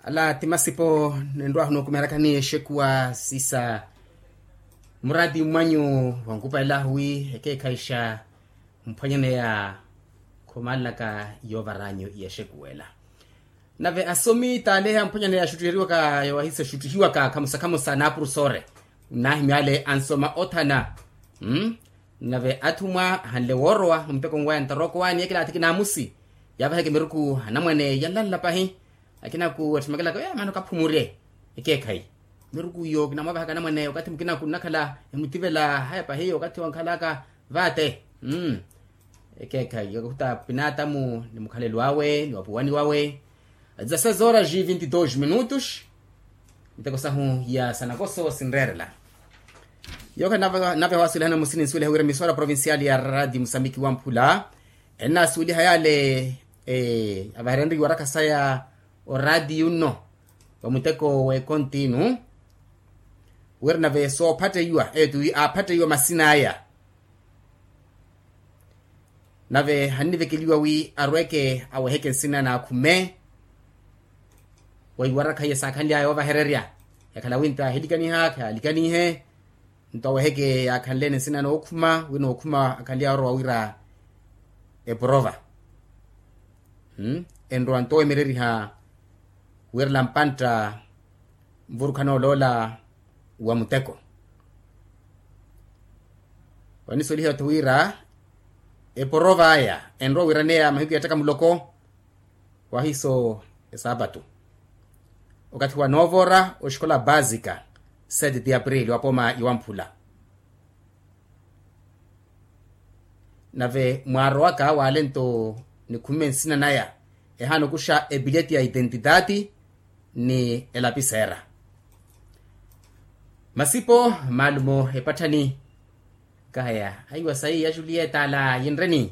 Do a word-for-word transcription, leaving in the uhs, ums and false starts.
Ala ti masipo. Ninrwahu nookumeherakani exekuwa sisa muraati mwanyu, wankupa elahu wi ekeekhayixa mphwanyaneya. Khomalelaka yoovaranyu yexekuwa ela. Nave asomi taaleha mphwanyaneya axuttuheriwaka yowahiso exuttuhiwaka khamusa khamusa naapurusore. Nnahimyale ansoma othana. Nave athumwa ahanle woorowa mumuteko nwaya ntaroko wani ekilaathi kinaamusi. Yaavaheke miruku anamwane yanlanla pahi. Akinaku atthimakelaka ya maana okaphumurye ekeekhayi. Miruku iyo kinamwaavahaka anamwane okathi mukinaku nnakhala emutivela haya pahi okathi wankhalaka vaate. Ekeekhayi okakuta pinaatamu ni mukhalelo awe ni wapuwani wawe. Dezasseis horas e vinte e dois minutos. Miteko sahu ya sanakoso sinreerela. Yooka nave wasulihana musini nsuweliha wira emisora provincial ya radio musambiki wamphula. Ennaasuweliha yale avaherenriwa orakha saya oradio nno, vamuteko w'ekonti inu wira nave soophatteiwa etu wi aaphatteiwa masina aya. Nave hannivekeliwa wi arweke aweheke nsina naakhume. Weiwarakha iye saakhanly'aya oovahererya yakhala wi nto ahilikaniha khaalikanihe. Nto aweheke yaakhanleene nsina nookhuma wi nookhuma akhanly'aya orowa wira eporova. Enrowa nto wemereriha wirela mpantta nvurukhana oloola wa muteko. Wanisolihiwa-tho wira eporova aya enrowa wiraneya mahiku ya ttaka muloko. Wahiso esaapatu okathi wa noovora oxikola baasika sete ti aprili wa pooma iwamphula. Nave mwaarowaka waalento nikhumme nsina naya ehaana okuxa epileti ya itentitaati ni elapiseera. Masipo maalumo epatthani. Nkahaya aiwa sayi ya julieta ala yinreni.